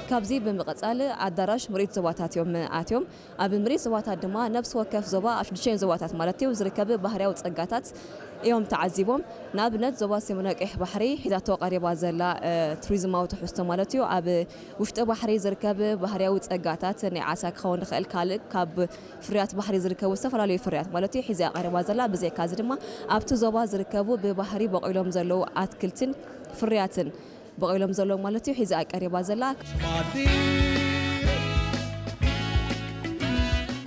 ካብዚ ብምቕጻል ኣዳራሽ ምርኢት ዞባታት እዮም ኣትዮም። ኣብ ምርኢት ዞባታት ድማ ነብሲ ወከፍ ዞባ ኣብ ሽዱሽተ ዞባታት ማለት እዩ ዝርከብ ባህርያዊ ጸጋታት እዮም ተዓዚቦም። ንኣብነት ዞባ ሰሜናዊ ቀይሕ ባሕሪ ሒዛቶ ቀሪባ ዘላ እ፣ ቱሪዝማዊ ትሕዝቶ ማለት እዩ ኣብ ውሽጢ ባሕሪ ዝርከብ ባህርያዊ ጸጋታት ናይ ዓሳ ክኸውን ይኽእል፣ ካልእ ካብ ፍርያት ባሕሪ ዝርከቡ ዝተፈላለዩ ፍርያት ማለት እዩ ሒዛ ቀሪባ ዘላ። ብዘይካ እዚ ድማ ኣብቲ ዞባ ዝርከቡ ብባህሪ በቂሎም ዘለዉ ኣትክልትን ፍርያትን በቂሎም ዘለዉ ማለት እዩ ሒዛ ቀሪባ ዘላ።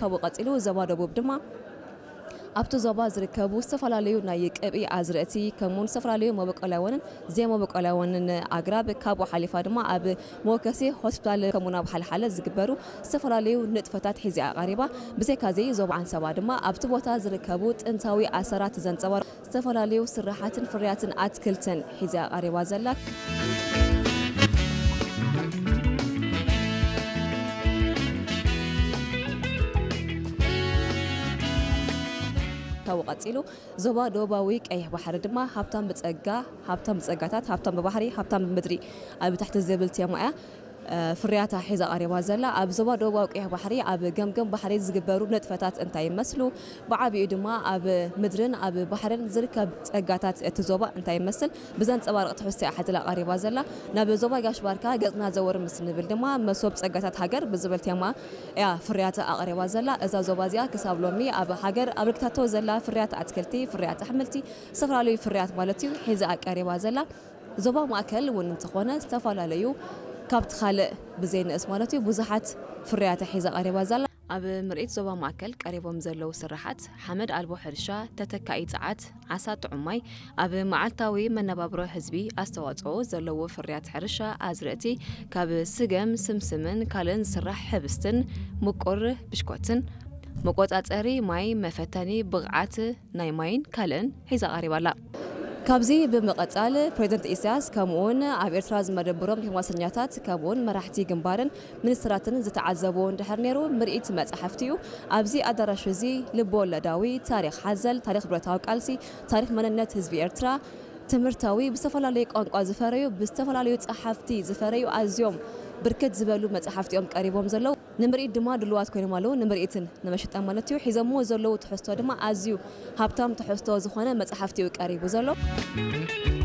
ካብኡ ቀጺሉ ዞባ ደቡብ ድማ ኣብቲ ዞባ ዝርከቡ ዝተፈላለዩ ናይ ቅብኢ ኣዝርእቲ ከምኡውን ዝተፈላለዩ መበቆላውያንን ዘይመበቆላውያንን ኣግራብ ካብኡ ሓሊፋ ድማ ኣብ መወከሲ ሆስፒታል ከምኡውን ኣብ ሓልሓለ ዝግበሩ ዝተፈላለዩ ንጥፈታት ሒዛ ቀሪባ። ብዘይካ እዚ ዞባ ዓንሰባ ድማ ኣብቲ ቦታ ዝርከቡ ጥንታዊ ኣሰራት ዘንጸባርቑ ዝተፈላለዩ ስራሓትን ፍርያትን ኣትክልትን ሒዛ ቀሪባ ዘላ። ካብኡ ቀጺሉ ዞባ ደቡባዊ ቀይሕ ባሕሪ ድማ ሃብታም ብጸጋ፣ ሃብታም ብጸጋታት፣ ሃብታም ብባሕሪ፣ ሃብታም ብምድሪ ኣብ ታሕቲ ዝብል ቴማ እያ እ፣ ፍርያታ ሒዛ ቀሪባ ዘላ። ኣብ ዞባ ደቡባዊ ቀይሕ ባሕሪ ኣብ ገምገም ባሕሪ ዝግበሩ ንጥፈታት እንታይ ይመስሉ፣ ብዓቢኡ ድማ ኣብ ምድርን ኣብ ባሕርን ዝርከብ ጸጋታት እቲ ዞባ እንታይ ይመስል ብዘንጸባርቕ ትሕዝቶ እያ ሓዚላ ቀሪባ ዘላ። ናብ ዞባ ጋሽ ባርካ ገጽና ዘወር ምስ ንብል ድማ መሶብ ጸጋታት ሃገር ብዝብል ቴማ እያ ፍርያታ ኣቕሪባ ዘላ። እዛ ዞባ እዚኣ ክሳብ ሎሚ ኣብ ሃገር ኣበርኪታቶ ዘላ ፍርያት ኣትክልቲ፣ ፍርያት ኣሕምልቲ፣ ዝተፈላለዩ ፍርያት ማለት እዩ ሒዛ ቀሪባ ዘላ። ዞባ ማእከል እውን እንተኾነ ዝተፈላለዩ ካብቲ ካልእ ብዘይንእስ ማለት እዩ ብዙሓት ፍርያት ሒዛ ቀሪባ ዘላ። ኣብ ምርኢት ዞባ ማእከል ቀሪቦም ዘለዉ ስራሓት ሓመድ ኣልቦ ሕርሻ፣ ተተካኢ ጸዓት፣ ዓሳ ጥዑም ማይ፣ ኣብ መዓልታዊ መነባብሮ ህዝቢ ኣስተዋጽኦ ዘለዎ ፍርያት ሕርሻ ኣዝርእቲ ካብ ስገም፣ ስምስምን ካልእን ዝስራሕ ሕብስትን ምቁር ብሽኮትን፣ መቆጻጸሪ ማይ፣ መፈተኒ ብቕዓት ናይ ማይን ካልእን ሒዛ ቀሪባ ኣላ። ካብዚ ብምቕጻል ፕሬዚደንት ኢሳያስ ከምኡውን ኣብ ኤርትራ ዝመደብሮም ዲፕሎማሰኛታት ከምኡውን መራሕቲ ግንባርን ሚኒስትራትን ዝተዓዘብዎ እንድሕር ነይሩ ምርኢት መጻሕፍቲ እዩ። ኣብዚ ኣዳራሽ እዚ ልበወለዳዊ፣ ታሪኽ ሓዘል፣ ታሪኽ ብረታዊ ቃልሲ፣ ታሪኽ መንነት ህዝቢ ኤርትራ፣ ትምህርታዊ፣ ብዝተፈላለዩ ቋንቋ ዝፈረዩ፣ ብዝተፈላለዩ ጸሓፍቲ ዝፈረዩ ኣዝዮም ብርክት ዝበሉ መጻሕፍቲ እዮም ቀሪቦም ዘለዉ። ንምርኢት ድማ ድሉዋት ኮይኖም ኣለዉ። ንምርኢትን ንመሸጣ ማለት እዩ። ሒዞምዎ ዘለዉ ትሕዝቶ ድማ ኣዝዩ ሃብታም ትሕዝቶ ዝኾነ መጻሕፍቲ እዩ ቀሪቡ ዘሎ።